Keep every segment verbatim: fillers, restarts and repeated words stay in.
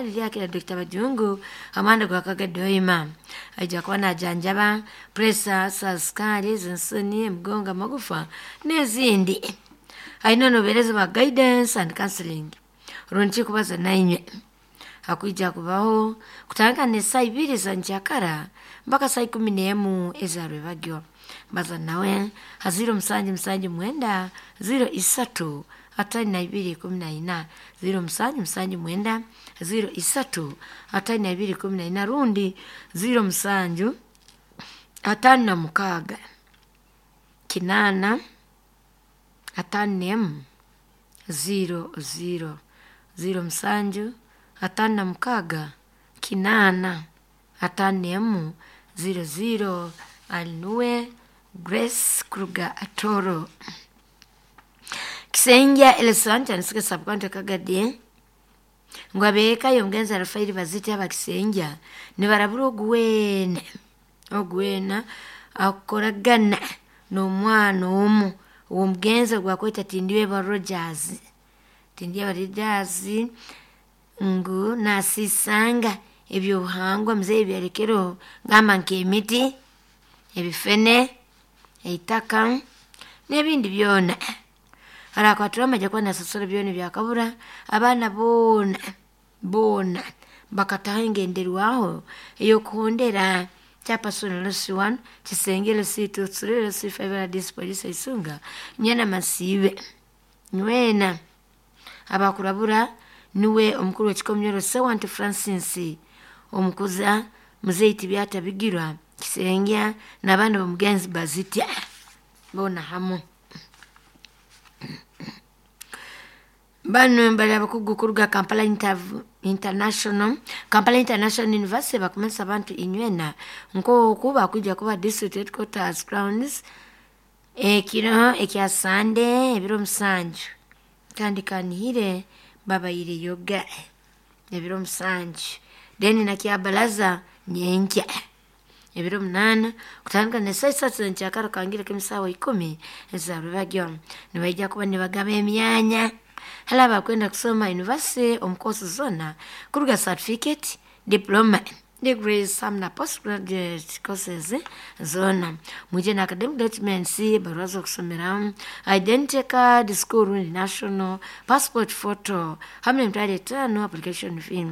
Lyakira Dokita Bajungu amanda gwakagadde oyima ajja kuba najanjaba puresa, sikaali, ensoni, emigongo, amagufa n'ezindi. Alina nobuheereza bwa guidance and counseling rundi kubaza nainywe. Hakwija kubaho kutandika n'esaaha ibiri za nkyakara mpaka saa ikumi n'emu eza rwebagyo. Baza nawe ha ziro musanju musanju mwenda ziro isatu atano na ibiri ikumi na ina, ziro musanju musanju mwenda ziro isatu atano na ibiri ikumi na ina, rundi ziro musanju atano na mukaaga kinaana atano n'emu ziro ziro, ziro musanju atano na mukaaga kinaana atano n'emu ziro ziro. Ali nuwe Grace kuruga Atoro. Kisengya Elesanta nisika sub-county Kagadi ngu abeeka y'omugenzi Rafairi Baziti abakisengya nibarabura ogu weena ogu weena akukoragana n'omwana omu ow'omugenzi ogu bakweta Tindyebwa Rogers, Tindyebwa Rogers ngu naasiisanga ebyobuhangwa muzeeyi ebi yalekereho gamba nk'emiti, ebifene, eitaka n'ebindi byona. Araakwatirwamu aija kuba naasasura byona ebyakabura, abaana boona boona bakataho engenderwaho ey'okuhondera Chairperson L C one, Kisenge L C two, Three L C five, R D C Police Isunga, Nyana Masiibe nywena abakurabura nuwe omukuru w'ekikomero Ssewanti Francis, omukuza muzeeyi Tibyata Bigirwa Kisengya n'abaana b'omugenzi Bazitya boona hamu. Banu bali abakugu kuruga Kampala International Kampala International University bakumanyisa abantu inywena nk'oku bakwija kuba district headquarters grounds ekiro ekya Sande ebiro musanju kandi kanihire babaire yoga ebiro musanju, then nakyabaraza nyenkya ebiro munaana kutandika n'esaaha isatu z'enkyakara kangire k'emisaawa ikumi eza rwebagyo. Nibaija kuba nibagaba emyanya hali abakwenda kusoma university omu course zoona kuruga certificate, diploma, degrees hamu na postgraduate courses zoona. Mwije na academic documents, ebbaruha z'okusomeramu, identity card, school rundi national, passport photo hamu n'emitwaro etaano application fee.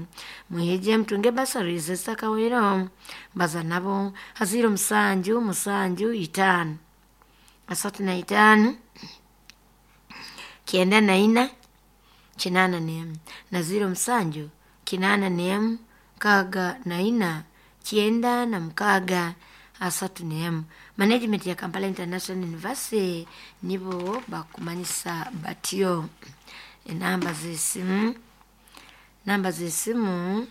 Mwije mutunge bursaries ezitakahwaireho. Baza nabo ha ziro musanju musanju itaano asatu na itaano kyenda na ina kinaana n'emu na ziro musanju kinaana n'emu nkaaga na ina kyenda na mukaaga asatu n'emu. Management ya Kampala International University nibo bakumanyisa batyo. Enamba z'esimu, namba z'esimu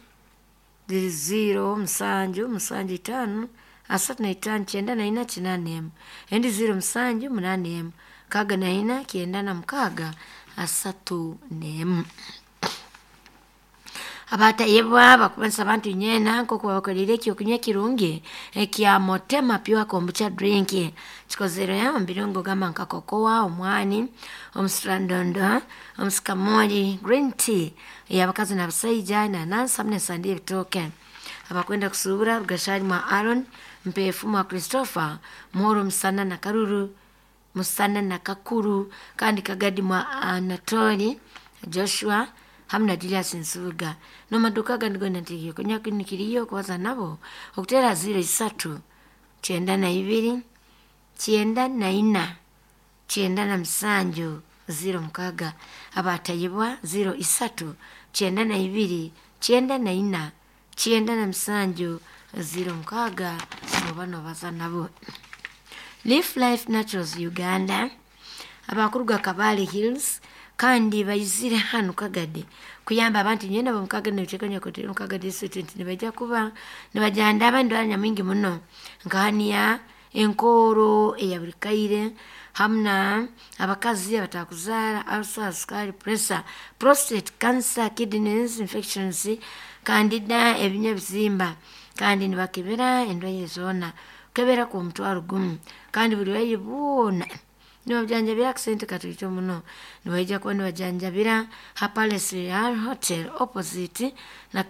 ziri ziro musanju musanju itaano asatu na itaano kyenda na ina kinaana n'emu, endi ziro musanju munaana emu nkaaga na ina kyenda na mukaaga asatu n'emu. Abatayebwa bakumanyisa abantu inywena nk'oku babakoliire ekyokunywa ekirungi ekya Motema Pure Kombucha Drink kikozerwe omu birungo gamba nka kokoa, omwani, omusirandondo, omusikamoli, green tea ey'abakazi n'abasaija, enanansi hamu n'esande y'ebitooke. Abakwenda kusuubura Rugashari mwa Aaron, Mpeefu mwa Christopher, Muhoro Musana na Karuru, Musana na Kakuru, kandi Kagadi mwa Anatoli, Joshua hamu na Julius Nsubuga. N'omumaduuka agandi goona nti kinu kiriyo okubaza nabo okuteera ziro isatu kyenda na ibiri kyenda na ina kyenda na musanju ziro mukaaga, abatayebwa ziro isatu kyenda na ibiri kyenda na ina kyenda na musanju ziro mukaaga noba nobaza nabo. Leaf Life Naturals Uganda abakuruga Kabale Hills kandi baizire hanu Kagadi kuyamba abantu nywena b'omu Kagadi n'ebicweka omu Kagadi district nti nibaija kuba nibajandaba endwara nyamwingi muno nka hernia, enkooro eya buli kaire hamu na abakazi abatakuzaara, ulcers, sukaali, pressure, prostate cancer, kidneys infections, candida, ebinywa ebizimba kandi nibakebera endwaire zoona. Kukebera kw'omutwaro gumu kandi buli burwaire bwona Nibajanjabira akasente katoito muno. Nibaija kuba nibajanjabira ha Palace Royal Hotel opposite na